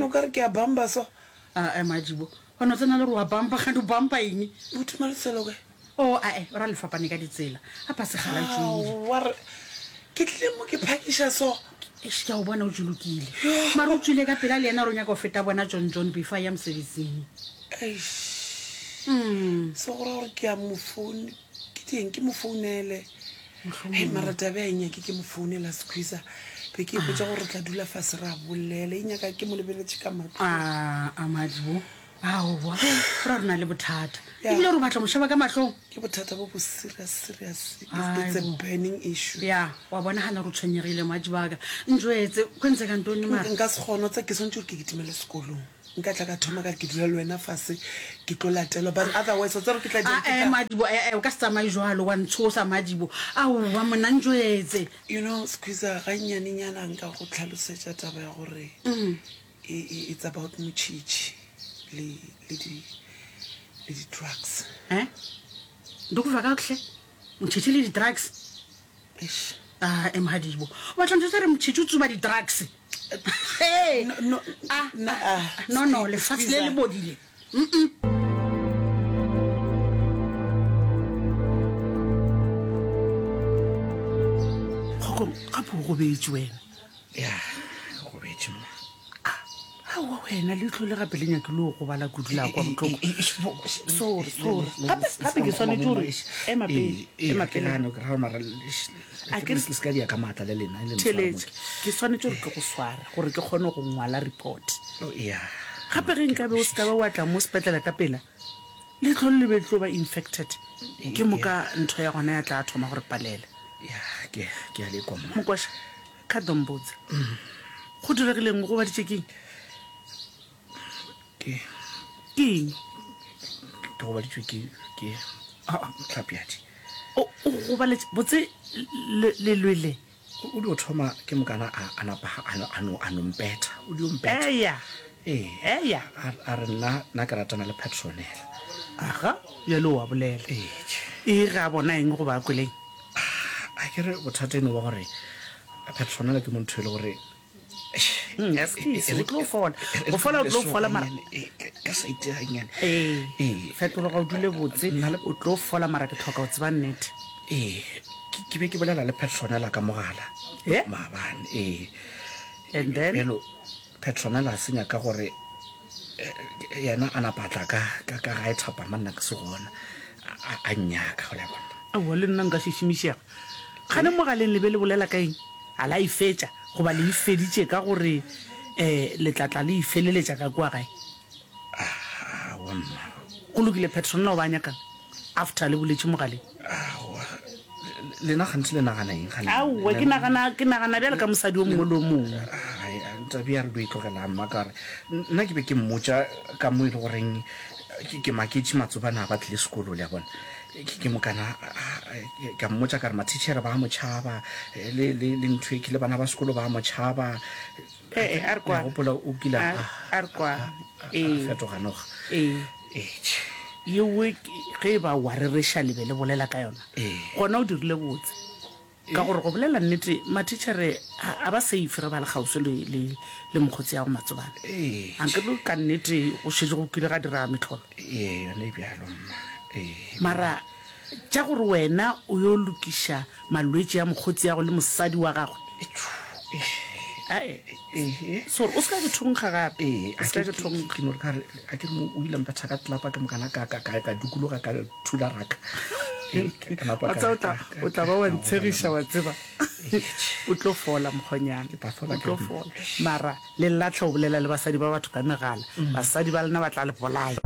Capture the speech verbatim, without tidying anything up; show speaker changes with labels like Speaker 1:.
Speaker 1: o ka re ke a bamba so.
Speaker 2: Ae Madibo, wa no tsena le gore wa bampa, kgante o bampa eng?
Speaker 1: Buti Malesela o kae?
Speaker 2: Oh, ae, o ra le fapane ka ditsela. A pa segala tšwile.
Speaker 1: Aowa, re ke tlile mo ke phakiša so.
Speaker 2: Eish, ke a o bona o tšolokile. Mara o tšwile ka pela le yena gore o nyaka go feta bona John John before a ya mosebetsing.
Speaker 1: Eish. So go ra gore ke a mo phone, ke dieng ke mo founele. Hei, mara taba e nyake ke mo founela Squeezer. Be ke ipotša gore re tla dula fase ra bolela. E nyaka ke mo lebeletše ka mahlong.
Speaker 2: A, a Madibo. Aowa, go ra re na le bothata. Ebile gore o batla mo sheba ka mahlong.
Speaker 1: Ke bothata bo bo serious, serious. It's, it's a burning issue.
Speaker 2: Ya, wa bonagala gore o tshwenyegile Madibo a ka. Njwetse, go ntseka ntoni mara?
Speaker 1: Nka se kgone, wa tseba ke swanetše gore ke kitimele sekolong. Nka tla ka thoma ka re ke dula le wena fase ke tlo latelwa, but otherwise wa tseba gore ke tla
Speaker 2: dirang, ke tla. Ae Madibo, e-e, o ka se tsamaye jwalo, wa ntshosa Madibo. Aowa monna, njwetse.
Speaker 1: You know, Squeezer, gannyanenyana nka go hlalosetša taba ya gore e, e, it's about motšhitšhi le, le di, le di-drugs.
Speaker 2: Eh? Ndikuva kakuhle? Motšhitšhi le di-drugs?
Speaker 1: Eish.
Speaker 2: Ae Madibo, o batla ntho tsa re motšhitšhi o tsuba di-drugs? Hey!
Speaker 1: No, no,
Speaker 2: Ah,
Speaker 1: na,
Speaker 2: ah,
Speaker 1: ah,
Speaker 2: no, no, lefase le le bodile. Mm-mm.
Speaker 3: Kgokong, gape o gobetše wena.
Speaker 4: Ya, ke gobetše mma.
Speaker 3: Aowa wena, leihlo le gape le nyakile go gobala kudu la kwa bohloko. Sorry, sorry. Gape, gape ke swanetše gore ema pele, ema pele. A ke re-
Speaker 4: Se ka dia ka maatla le lena, le ntshwara
Speaker 3: Theeletša,
Speaker 4: mo
Speaker 3: ke swanetše gore ke go sware gore ke kgone go ngwala report.
Speaker 4: ke- Oh, ya.
Speaker 3: Gape ge nkabe o se ka ba wa tla mo sepetlele ka pela, leihlo le le be le tlo ba infected. Ke moka ntho ya gona ya tla thoma gore palela.
Speaker 4: Ya, ke ke a le kwa mma.
Speaker 3: Mokwasha, kha ḓo mbudza. Go diregileng o gobaditše keng?
Speaker 4: Ke
Speaker 3: Ke eng?
Speaker 4: ke gobaditšwe ke ke ah tlhapiadi.
Speaker 3: O o gobaletše botse le le lwele.
Speaker 4: O dio thoma ke mokana a a napa a no a no a no mpetha. O dio mpetha.
Speaker 3: Eya.
Speaker 4: Ee.
Speaker 3: Eya.
Speaker 4: A a re nna nna ke ratana le Petronella.
Speaker 3: Aga, bjale o a bolela.
Speaker 4: Ee.
Speaker 3: E ge a bona eng goba a kweleng?
Speaker 4: A ke re bothata eno ba gore Petronella ke mo ntho e le gore
Speaker 3: Mm, excuse, o tlo fola. Go fola o tlo fola mara.
Speaker 4: Ka saite gannyane.
Speaker 3: Ee.
Speaker 4: Ee.
Speaker 3: Fetologa o dule botse, o tlo fola mara ke tlhoka go tseba nnete.
Speaker 4: Ee, ke be ke bolela le Petronella ka mogala.
Speaker 3: Eh?
Speaker 4: Maabane, ee.
Speaker 3: And then?
Speaker 4: Bjalo, Petronella a se nyaka gore yena a napa a tla ka ka ka gae thapama nna ke se gona a a nnyaka go le bona.
Speaker 3: Aowa le nna nka šišimišega. Kgane mogaleng le be le bolela ka eng? A la e fetša goba le e feditše ka gore um le tla tla le e feleletša ka kua gae?
Speaker 4: Aowa mma.
Speaker 3: Go lokile Petronella o ba a nyakang after le boletše mogaleng?
Speaker 4: Aowa lena gantši le nagana eng gane?
Speaker 3: Aowa ke nagana ke nagana bjalo ka mosadi o mongwe le o mongwe.
Speaker 4: Ai tabe ya re do e tlogelang mma ka gore nna ke be ke mmotša ka mo e le goreng ke maketše matsobana a ba tlile sekolo le a bona. Ke mokana ka mmotša ka re mathitšhere ba mo tšhaba le le le ntho e ke le bana ba sekolo ba mo tšhaba.
Speaker 3: Ee, a re kwane.
Speaker 4: Gopola o kile
Speaker 3: a a re kwane. Ee.
Speaker 4: Fetoga noga.
Speaker 3: Ee.
Speaker 4: Ee.
Speaker 3: Yewe ge e ba wa rereša le be le bolela ka yona.
Speaker 4: Ee.
Speaker 3: Gona o dirile botse. Ka gore go bolela nnete mathitšhere a ba safe ge ba le kgauswi le le le mokgotsi ya go matsobane.
Speaker 4: Ee.
Speaker 3: Ankere ka nnete go šetše go kile ga dira mehlolo.
Speaker 4: Ee, yona e bjalo mma. Ee.
Speaker 3: Mara tša gore wena o yo lokiša malwetši a mokgotsi ya go le mosadi wa gagwe. Ae. Sorry, o se ka ke thonkga gape.
Speaker 4: Ee,
Speaker 3: O se ka ke thonkga.
Speaker 4: ke no re ka re a ke re mo o ile mpetha ka tlelapa ke mokana ka ka ka ka dukologa ka thula raka. Ee, ka napa
Speaker 3: Wa
Speaker 4: ka
Speaker 3: tseba o tla
Speaker 4: ka
Speaker 3: o tla ba wa
Speaker 4: ka
Speaker 3: ntshegiša wa tseba. O tlo fola mokgonyana.
Speaker 4: Ke tla fola
Speaker 3: O tlo
Speaker 4: ke
Speaker 3: fola. Mara le latlhe go bolela le basadi ba batho ka megala. Basadi ba lena ba tla le bolaya.